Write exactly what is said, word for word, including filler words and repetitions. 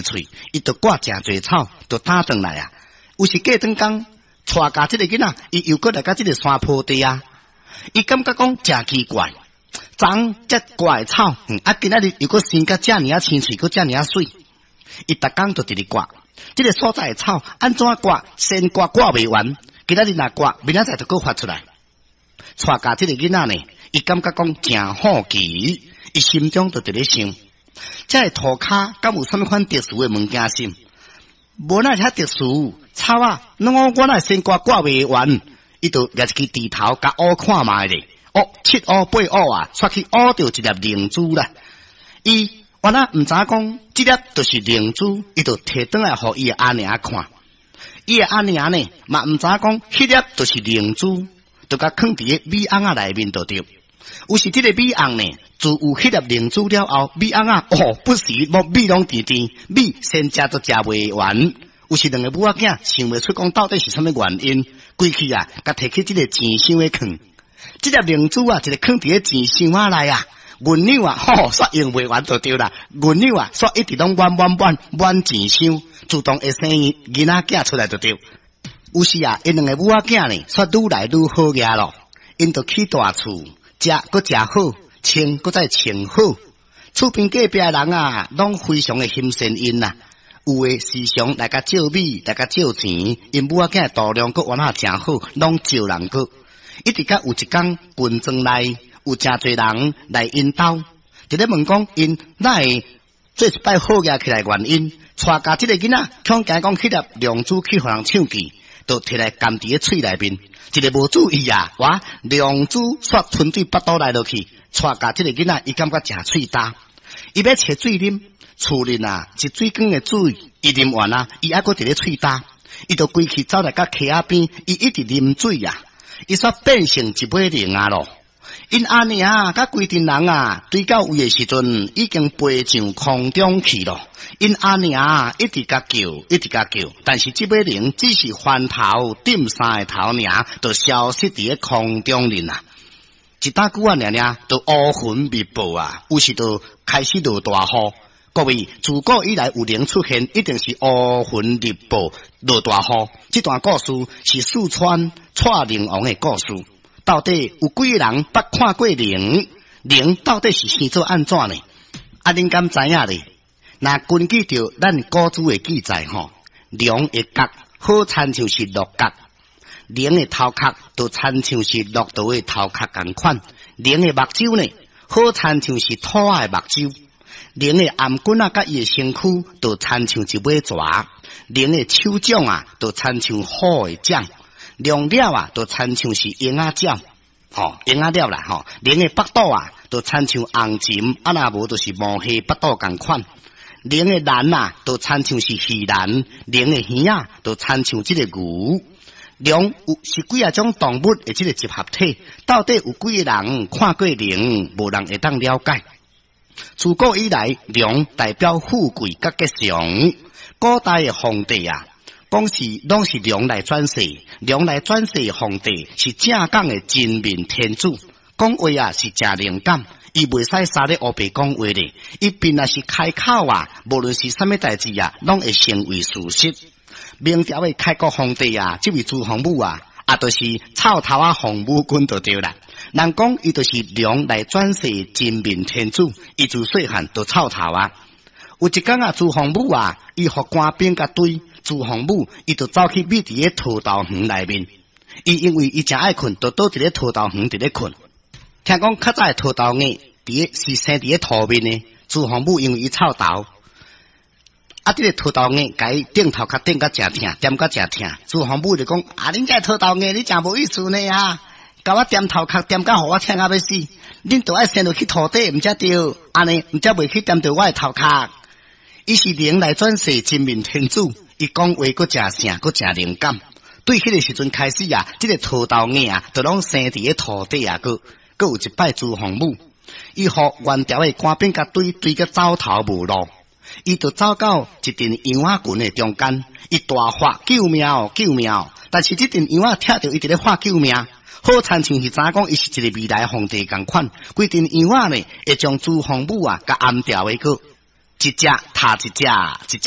喙，伊就割誠濟草，就擔轉來啊。有時過轉工，帶教這個囡仔，伊又閣來到這個山坡地啊，伊感覺講誠奇怪，昨昏才割的草，啊，今仔日又閣生甲遮爾仔青喙，閣遮爾仔媠。伊逐工就佇咧割，這個所在的草按怎割，先割割袂完，今仔日若割，明仔載就閣發出來。帶教這個囡仔呢，伊感覺講誠好奇，伊心中就佇咧想，這个塗跤敢有啥物款特殊的物件啥？無哪會遐特殊，草仔，攏我我哪會先割割袂完，伊就舉一支鋤頭，共挖看覓咧，哦，七挖八挖啊，煞去挖著一粒龍珠啦。伊原來毋知影講，這粒就是龍珠，伊就提轉來予伊的阿娘看。伊的阿娘呢，嘛毋知影講，彼粒就是龍珠，就共囥佇个米甕仔內面就對。有時這個米甕呢，自有彼粒龍珠了後，米甕仔哦，不時無米攏甜甜，米先食都食袂完。有時兩個母仔囝想袂出講到底是啥物原因，規氣啊，共提去這个錢箱咧囥。這粒龍珠啊，一个囥佇个錢箱仔內啊，銀兩啊，吼，煞用袂完就對啦。銀兩啊，煞一直攏滿滿滿滿錢箱，自動會生囡仔囝出來就對。有時啊，𪜶兩个母仔囝呢，煞愈來愈好額咯。𪜶就起大厝，食閣食好，穿閣再穿好。厝邊隔壁的人啊，攏非常的欣羨𪜶啊。有的時常來共借米，來共借錢，𪜶母仔囝度量閣原來誠好，攏借人閣。一直到有一工軍裝內有誠濟人來𪜶兜，佇咧問講𪜶哪會做一擺好額起來原因，帶教這个囡仔，恐驚講彼粒龍珠去予人搶去，就提來含佇咧喙內面，一个無注意啊，哇！龍珠煞吞對腹肚內落去，帶教這个囡仔，伊感覺誠喙焦，伊欲揣水啉，厝裡啊，一水缸的水，伊啉完啊，伊猶閣佇咧喙焦，伊就規氣走來到溪仔邊，伊一直啉水啊，伊煞變成一尾龍仔咯。𪜶阿娘佮規陣人啊，追到位的時陣，已經飛上空中去咯。𪜶阿娘一直共叫，一直共叫，但是這尾龍只是翻頭點三个頭爾，就消失佇咧空中裡啊。一大久仔爾爾，就烏雲密布啊，有時就開始落大雨。各位，自古以來有龍出現，一定是烏雲密布、落大雨。這段故事是四川蔡龍王的故事。到底有幾个人捌看過龍？龍到底是生做按怎呢？啊，恁敢知影咧？若根據著咱古書的記載吼，龍的角好親像是鹿角，龍的頭殼就親像是駱駝的頭殼仝款，龍的目睭呢，好親像是兔仔的目睭，龍的頷頸仔佮伊的身軀就親像一尾蛇，龍的手掌啊，就親像虎的掌。龍鳥啊，就親像是鷹仔鳥，吼，鷹仔鳥啦，吼，龍的腹肚啊，就親像紅鱘，啊若無就是毛蟹腹肚仝款。龍的顳啊，就親像是魚顳，龍的耳仔，就親像這个牛。龍有是幾仔種動物的這个集合體，到底有幾个人看過龍，無人會當了解。自古以來，龍代表富貴佮吉祥。古代的皇帝啊，講是攏是龍來轉世，龍來轉世皇帝是正港的真命天子，講話啊是誠靈感，伊袂使三咧烏白講話咧，伊便若是開口啊，無論是啥物代誌啊，攏會成為事實。明朝的開國皇帝啊，這位朱洪武啊，啊，就是臭頭仔洪武君就對啦。人講伊就是龍來轉世真命天子，伊自細漢就臭頭仔。有一工啊，朱洪武啊，伊予官兵共追，朱洪武伊就走去覕佇咧桃豆園內面。伊因為伊誠愛睏，就倒佇咧桃豆園佇咧睏。聽講較早的桃豆葉佇咧是生佇咧塗面的，朱洪武因為伊臭頭，啊，這个桃豆葉共伊頂頭殼頂甲誠疼，踮甲誠疼。朱洪武就講：啊，恁這桃豆葉你誠無意思呢啊！共我踮頭殼踮甲予我疼甲欲死，恁著愛生落去塗底，毋才對，按呢毋才袂去踮著我的頭殼。伊是龍來轉世真命天子，伊講話閣誠聖，閣誠靈感。對彼个時陣開始啊，這个桃豆葉啊，就攏生佇咧塗底啊，閣閣有一擺朱洪武，伊予元朝的官兵共追追甲走投無路，伊就走到一陣羊仔群的中間，伊大喊救命哦，救命哦！但是這陣羊仔聽著伊佇咧喊救命，好親像是知影講伊是一个未來皇帝仝款，規陣羊仔呢會將朱洪武啊共頷牢的閣。一隻踏一隻，一隻。